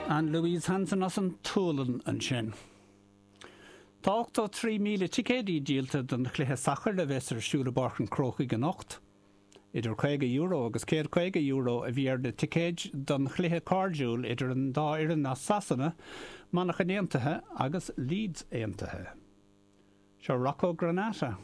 Ann Louise Hansen as an tSualainn ansin. Tá 83,000 ticéidí díolta don chluiche sacair a bheas ar siúl i bPáirc an Chrócaigh anocht. Idir €50 agus €150 a bhí ar na ticéid don chluiche cairdiúil idir an dá fhoireann as Sasana, Manchain Aontaithe agus Leeds Aontaithe. Seo Rocco Granata.